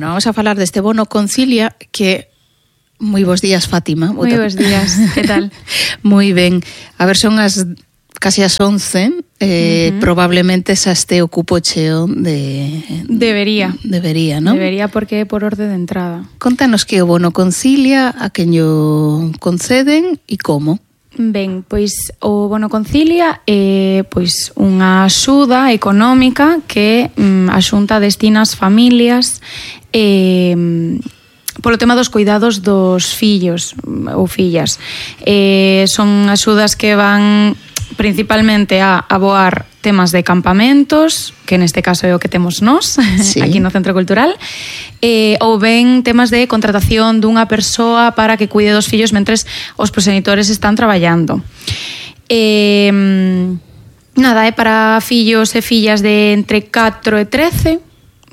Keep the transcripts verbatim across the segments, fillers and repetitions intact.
Bueno, vamos a falar deste bono Concilia que... Moi bons días, Fátima. Moi bons días, que tal? Moi ben. A ver, son as casi as once, eh, uh-huh. Probablemente xa este o cupo cheo de... Debería. Debería, non? Debería porque é por orde de entrada. Contanos que o bono Concilia, a quen o conceden e como. Ben, pois o bono Concilia é pois unha axuda económica que mm, a Xunta destina ás familias e... Eh, polo tema dos cuidados dos fillos ou fillas. Eh, son axudas que van principalmente a aboar temas de campamentos, que neste caso é o que temos nós, sí. Aquí no Centro Cultural, eh, ou ben temas de contratación dunha persoa para que cuide dos fillos mentres os proxenitores están traballando. Eh, nada, é para fillos e fillas de entre catro e trece,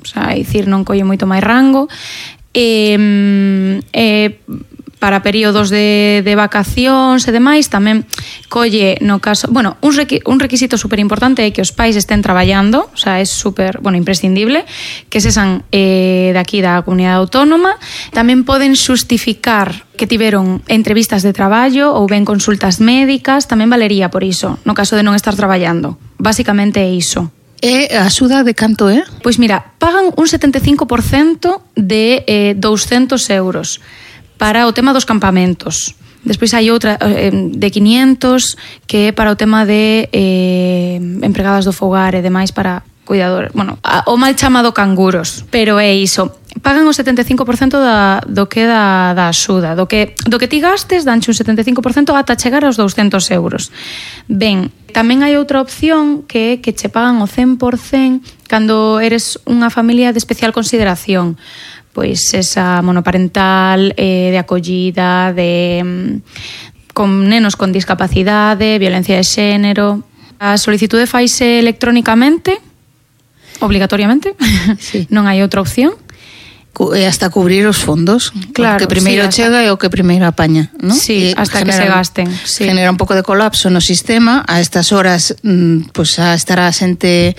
o sea, é dicir, non colle moito máis rango, E, e para períodos de, de vacacións e demais tamén colle no caso, bueno, un, requi, un requisito super importante é que os pais estén traballando, o sea, é super, bueno, imprescindible que sean eh, daqui da comunidade autónoma. Tamén poden xustificar que tiveron entrevistas de traballo ou ben consultas médicas, tamén valería por iso, no caso de non estar traballando. Básicamente é iso. E a axuda de canto é? Pois mira, pagan un setenta e cinco por cento de eh, douscentos euros para o tema dos campamentos. Despois hai outra eh, de quinientos que é para o tema de eh, empregadas do fogar e demais para cuidadores. Bueno, a, o mal chamado canguros, pero é iso. Pagan o setenta e cinco por cento da, do que da, da axuda. Do que, do que ti gastes, danche un setenta e cinco por cento ata chegar aos douscentos euros. Ben, tamén hai outra opción que é que che pagan o cen por cento cando eres unha familia de especial consideración. Pois esa monoparental, eh, de acollida, de con nenos con discapacidade, violencia de xénero. A solicitude faise electrónicamente, obligatoriamente, sí. Non hai outra opción. E hasta cubrir os fondos, claro, o que primeiro sí, chega e o que primeiro apaña, non? Sí, e hasta genera, que se gasten. Sí. Genera un pouco de colapso no sistema, a estas horas mmm, pues, a estará a xente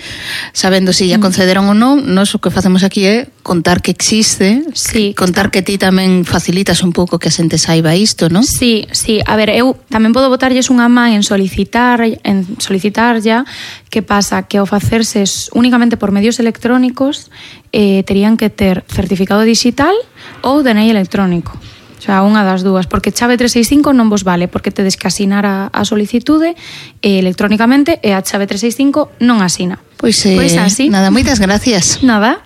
sabendo se si ya concederon ou non. Nos o que facemos aquí é contar que existe, sí, contar que, que ti tamén facilitas un pouco que a xente saiba isto, non? Sí, sí, a ver, eu tamén podo botarlles unha man en solicitar, en solicitar ya. Que pasa? Que ao facerse únicamente por medios electrónicos eh, terían que ter certificado digital ou D N I electrónico. O sea, unha das dúas, porque chave trescentos sesenta e cinco non vos vale, porque tedes que asinar a, a solicitude eh, electrónicamente e a chave trescentos sesenta e cinco non asina. Pois, eh, pois así. Nada, moitas gracias. Nada.